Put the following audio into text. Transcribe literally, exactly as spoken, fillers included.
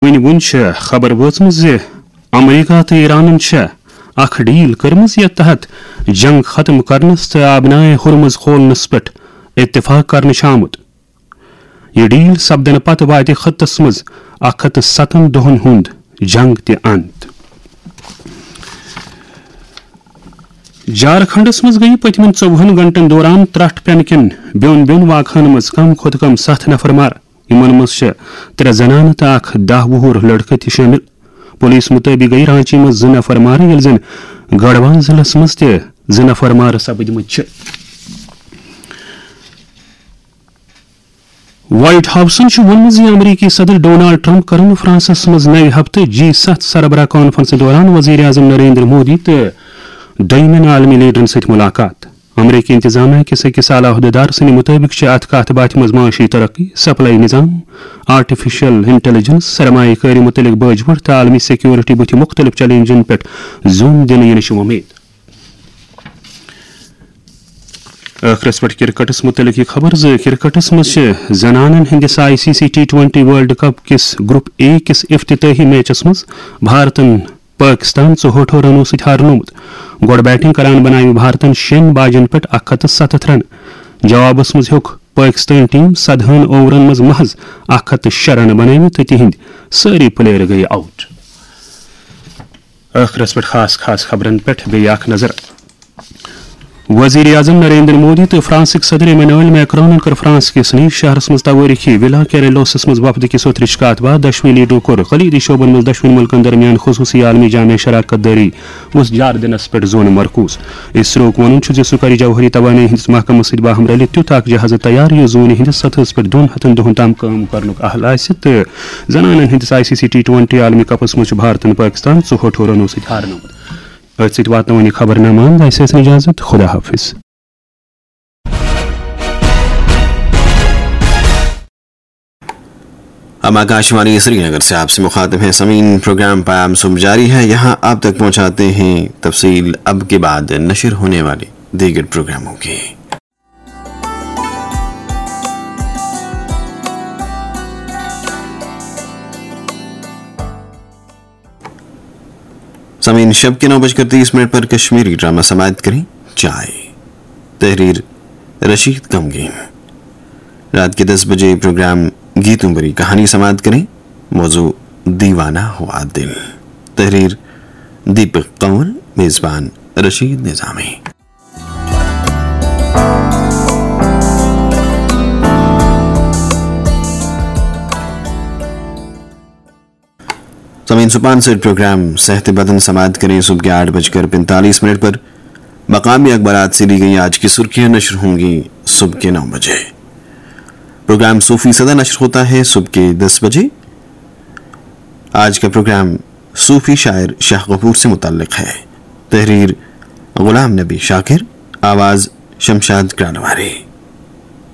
وٕنہِ وُن چھِ خبر وٲژمٕژ زِ امریکہ تہٕ ایرانن چھےٚ اکھ ڈیل کٔرمٕژ، یتھ تحت جنگ ختم کرنس تہٕ آبنائے ہرمز کھولنس پٮ۪ٹھ اتفاق کرنہٕ چھُ آمُت۔ یہِ ڈیل سپدنہٕ پتہٕ واتہِ خطس منٛز اکھ ہتھ تہٕ ستن دۄہن ہُنٛد جنگ تہِ انت۔ جھارکھنڈس منٛز گٔیہِ پٔتمٮ۪ن ژوٚوُہن گھنٹن دوران ترٹھ پینہٕ کٮ۪ن بیوٚن بیوٚن واقعن منٛز کم کھۄتہٕ کم ستھ نفر مارٕ۔ یِمن منٛز چھِ ترٛےٚ زنانہٕ تہٕ اکھ دَہ وُہُر لڑکہٕ تہِ شٲمِل۔ پولیس مُطٲبِق گٔیہِ رانچی منٛز زٕ نفر مارٕ، ییٚلہِ زن گڑھوال ضلعس منٛز تہِ زٕ نفر مارٕ سپٕدمٕتۍ چھِ۔ وائٹ ہاؤسن چھُ ووٚنمُت زِ امریکی صدر ڈونالڈ ٹرمپ کرن فرانسس منٛز نوِ ہفتہٕ جی ستھ سربراہ کانفرنسہٕ دوران وزیر اعظم نریندر مودی تہٕ دوٚیمٮ۪ن عالمی لیڈرن سۭتۍ ملاقات۔ امریکی انتظامیہ کِس أکِس اعلیٰ عہدیدار سٕنٛدِ مُطٲبِق چھِ اتھ کتھ باتھِ منٛز معاشی ترقی، سپلائی نظام، آرٹیفیشل انٹیلیجنس، سرمایہ کٲری مُتعلق باجہِ وُٹھ تہٕ عالمی سیکورٹی بُتھِ مُختٔلِف چیلنجن پٮ۪ٹھ زوم دِنہٕ یِنٕچ وۄمید۔ ٲخرس پٮ۪ٹھ کرکٹس مُتعلق یہِ خبر زِ کرکٹس منٛز چھِ زنانن ہٕنٛدِس I C C T twenty world cup کِس گروپ اے کِس افتتاحی میچس منٛز بھارتن پٲکستان ژُہٲٹھو رنو سۭتۍ ہارنومُت۔ گۄڈٕ بیٹنگ کران بناوِ بھارتن شیٚن باجن پٮ۪ٹھ اکھ ہتھ تہٕ ستتھ رن۔ جوابس منٛز ہیوٚک پٲکستٲنۍ ٹیم سدہن اوورن منٛز محض اکھ ہتھ تہٕ شےٚ رن بنٲوِتھ تہٕ تِہنٛدۍ سٲری پلیئر گٔیہِ آؤٹ۔ ٲخرس پٮ۪ٹھ خاص خاص خبرن پٮ۪ٹھ بیٚیہِ اکھ نظر۔ وزیر اعظم نریندر مودی تہٕ فرانسٕکۍ صدر ایمینوئل میکرونن کٔر فرانس کِس نیس شہرس منٛز توٲریخی ولا کیریلوسس منٛز وفد کِس اوترٕچ کتھ باتھ۔ دۄشوٕنی لیڈرو کوٚر کلیدی شعبن منٛز دۄشوٕنی مُلکن درمیان خصوصی عالمی جامع شراکت دٲری ہُنٛد اجارٕ دِنس پٮ۪ٹھ زون مرکوز۔ اسروک وَنُن چھُ زِ سُہ کرِ جوہری توانٲیی ہٕنٛدِس محکمس سۭتۍ باہم رلِتھ تیُتھ اکھ جہاز تیار، یُس زوٗنہِ ہٕنٛدِس سطحس پٮ۪ٹھ دۄن ہَتَن دۄہَن تام کٲم کرنُک اہل آسہِ تہٕ زنانن ہٕنٛدِس I C C T twenty عالمی کپس منٛز چھُ بھارتن پٲکستان ژُہٲٹھو رنو سۭتۍ ہارنومُت۔ أتھۍ سۭتۍ واتناوان یہِ خبرنامہٕ اند۔ اَسہِ ٲسۍ اِجازت۔ خدا حافظ۔ ہم آکاشوانی سری نگر سے آپ سے مخاطب ہیں سمعین، پروگرام پیام صبح جاری ہے۔ یہاں آپ تک پہنچاتے ہیں تفصیل اب کے بعد نشر ہونے والے دیگر پروگراموں کی۔ سمعین، شب کے نو بج کر تیس منٹ پر کشمیری ڈرامہ سماعت کریں، چائے۔ تحریر رشید کمگین۔ رات کے دس بجے پروگرام گیتوں بری کہانی سماعت کریں، موضوع دیوانہ ہوا دل۔ تحریر دیپک کنور، میزبان رشید نظامی۔ سمعین، سپانسرڈ پروگرام صحت بدن سماعت کریں صبح کے آٹھ بج کر پینتالیس منٹ پر۔ مقامی اخبارات سے لی گئی آج کی سرخیاں نشر ہوں گی صبح کے نو بجے۔ پروگرام صوفی صدا نشر ہوتا ہے صبح کے دس بجے۔ آج کا پروگرام صوفی شاعر شاہ غفور سے متعلق ہے۔ تحریر غلام نبی شاکر، آواز شمشاد گرانواری۔